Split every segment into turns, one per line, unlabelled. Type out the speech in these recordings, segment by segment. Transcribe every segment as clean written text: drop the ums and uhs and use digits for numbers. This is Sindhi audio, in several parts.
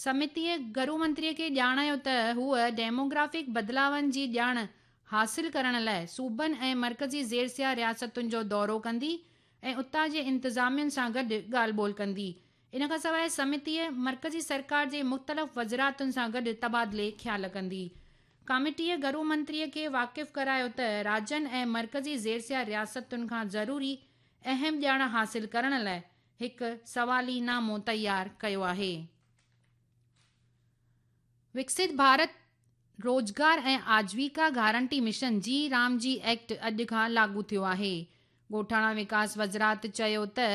سمتيء گهرو منتريء کي ڄاڻايو ته هوء ڊيموگرافڪ بدلاون جي ڄاڻ حاصل ڪرڻ لاء صوبن ۽ مرڪزي زيرسيا رياستن جو دورو ڪندي ۽ اتان جي انتظامين سان گڏ ڳالهه ٻولهه ڪندي. ان کان سواء سمتيء مرڪزي سرڪار جي مختلف وزراتن سان گڏ تبادلي خيال ڪندي. ڪاميٽيء گهرو منتريء کي واقف ڪرايو ته راجين ۽ مرڪزي زيرسيا رياستن کان ضروري اهم ڄاڻ حاصل ڪرڻ لاء هڪ سوالي نامو تيار ڪيو آهي. وڪست ڀارت روزگار ۽ آجيوڪا گارنٽي مشن جي رام جي ايڪٽ اڄ کان لاڳو ٿيو آهي. ڳوٺاڻا وڪاس وزرات چيو ته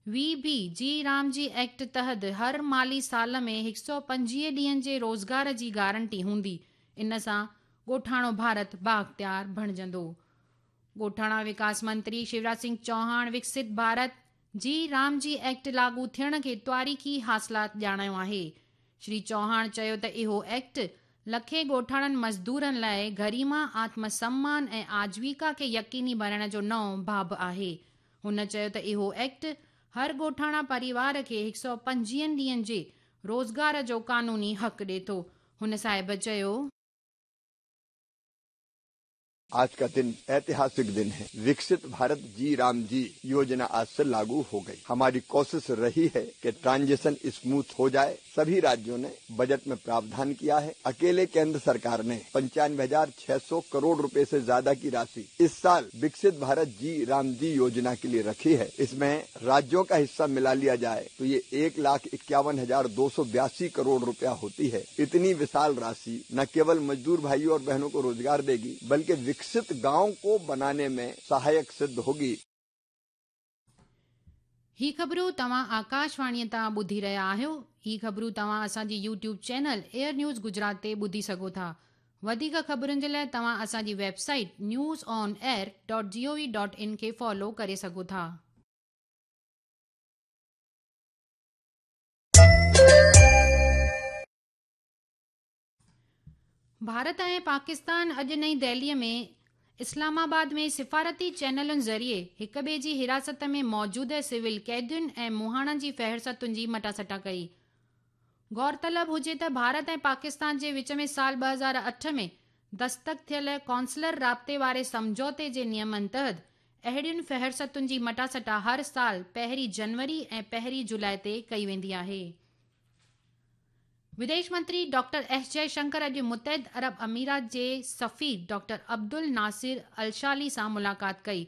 V B G RAM G act تحت هر مالي سال ۾ 125 ڏينهن جي روزگار جي گارنٽي هوندي، ان سان ڳوٺاڻو ڀارت بااختيار بڻجندو. ڳوٺاڻا وڪاس منتري شيوراج سنگهه چوهاڻ وڪست ڀارت جي رام جي ايڪٽ لاڳو ٿيڻ کي تواريخي حاصلات ڄاڻايو آهي. شري چوهاڻ چيو ته اهو ايڪٽ لکين ڳوٺاڻن مزدورن لاء گريما، آتم سمان ۽ آجيوڪا کي يقيني بڻائڻ جو نئون باب آهي. هن چيو ته اهو ايڪٽ هر ڳوٺاڻا پريوار کي 125 ڏينهن جي روزگار جو قانوني حق ڏي ٿو. هن صاحب چيو.
आज का दिन ऐतिहासिक दिन है। विकसित भारत जी राम जी योजना आज से लागू हो गई। हमारी कोशिश रही है कि ट्रांजिशन स्मूथ हो जाए। सभी राज्यों ने बजट में प्रावधान किया है। अकेले केंद्र सरकार ने 95,600 करोड़ रुपए से ज्यादा की राशि इस साल विकसित भारत जी राम जी योजना के लिए रखी है। इसमें राज्यों का हिस्सा मिला लिया जाए तो ये 1,51,282 करोड़ रुपया होती है। इतनी विशाल राशि न केवल मजदूर भाइयों और बहनों को रोजगार देगी, बल्कि विकसित गांव को बनाने में सहायक सिद्ध होगी।
هي خبرون توهان آڪاشواڻيء تان ٻڌي رهيا آهيو. هي خبرون توهان اسان جي YouTube channel air news Gujarat تي ٻڌي سگهو ٿا. وڌيڪ خبرن جي لاء توهان اسان جي website news on air dot G O V dot in کي فالو ڪري سگهو ٿا. ڀارت ۽ پاڪستان اڄ نئين دهليء ۾ اسلام آباد ۾ سفارتي چينلن ذريعي هڪ ٻئي جي حراست ۾ موجوده سول قيدين ۽ مهاڻن جي فهرستن جي مٽاسٽا ڪئي. غور طلب هجي ته ڀارت ۽ پاڪستان جي وچ ۾ سال 2008 ۾ دستخط ٿيل قونصلر رابطي واري سمجهوتي جي نيمن تحت اهڙين فهرستن جي مٽاسٽا هر سال پهرين جنوري ۽ پهرين جولاء تي ڪئي ويندي آهي. وديش منتري ڊاڪٽر ايس جئه شنڪر اڄ متحده عرب امارات جي سفير ڊاڪٽر عبدالناصر الشالي سان ملاقات ڪئي.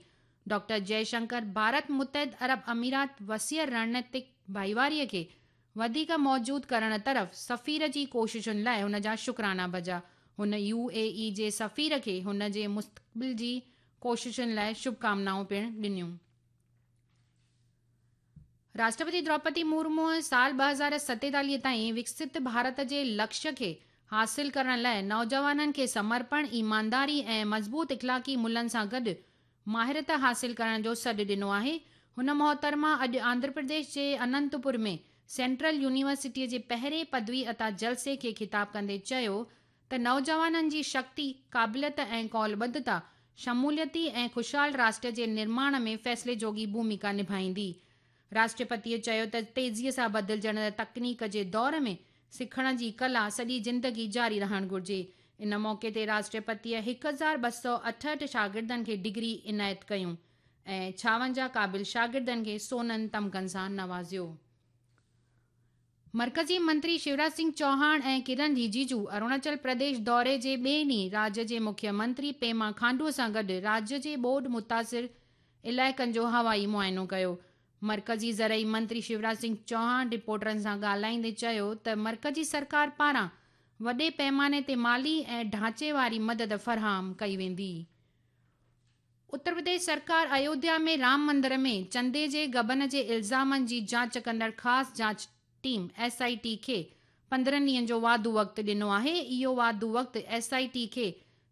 ڊاڪٽر جئه شنڪر ڀارت متحده عرب امارات وسيع رڻنيتڪ ڀائيواري کي وڌيڪ موجود ڪرڻ طرف سفير جي ڪوششن لاء هن جا شڪرانا بجا. هن يو اي اي جي سفير کي هن جي مستقبل جي ڪوششن لاء شڀڪامنائون پڻ ڏنيون. راشٽرپتي دروپدي مورموء سال 2047 تائين وڪست ڀارت جي لڪشيه کي حاصل ڪرڻ لاء نوجوانن کي سمرپڻ، ايمانداري ۽ مضبوط اخلاقي ملهن سان گڏ ماهرت حاصل ڪرڻ جو سڏ ڏنو آهي. هن محترمه اڄ آنڌرا پرديش جي اننتپور ۾ سينٽرل يونيورسٽيء جي پهرين پدوي عطا جلسي کي خطاب ڪندي چيو ته نوجوانن جي شڪتي، قابليت ۽ قولبڌتا شموليتي ۽ خوشحال راشٽر جي نرماڻ ۾ فيصلي جوڳي ڀوميڪا نڀائيندي. راشٽرپتيء چيو ته تيزيء سان بدلجندڙ تڪنيڪ جي دور ۾ سکڻ جي ڪلا سڄي زندگي جاري رهڻ گهرجي. ان موقعي تي راشٽرپتيء 1268 شاگردن کي ڊگري عنايت ڪيون ۽ 56 قابل شاگردن کي سونن تمغن سان نوازيو. مرڪزي منتري شيوراج سنگهه چوهاڻ ۽ ڪرن رجيجو اروناچل پرديش دوري جي ٻئي ڏينهن راجيه جي مکيه منتري پيما کانڊو سان گڏ راجيه جي ٻوڏ متاثر علائقن جو هوائي معائنو ڪيو. مرڪزي زرعي منتري شيوراج سنگهه چوهاڻ رپورٽرن سان ڳالهائيندي چيو ته مرڪزي سرڪار پاران وڏي پئماني تي مالي ۽ ڍانچي واري مدد فراهم ڪئي ويندي. اتر پرديش سرڪار ايوڌيا ۾ رام مندر ۾ چندي جي غبن جي الزامن جي جاچ ڪندڙ خاص جاچ ٽيم، ايس I ٽي، کي 15 ڏينهن جو واڌو وقت ڏنو آهي. اهو واڌو وقت ايس I ٽي کي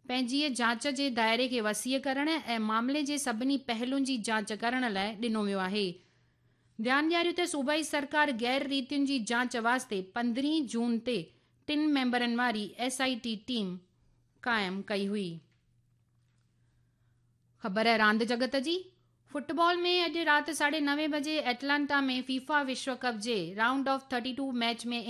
پنهنجيء جاچ جي دائري کي وسيع ڪرڻ ۽ معاملي جي سڀني پهلن جي جاچ ڪرڻ لاء ڏنو ويو آهي. ڌيان ڏياريو ته صوبائي سرڪار غير ريتين جي جاچ واسطي 15 جون تي ٽن ميمبرن واري ايس I T team قائم ڪئي هئي. خبر راند جڳت جي، فٽبال ۾ اڄ رات ساڍي نوين بجي ايٽلانٽا ۾ فيفا وشو ڪپ جي رائونڊ آف 32 ميچ ۾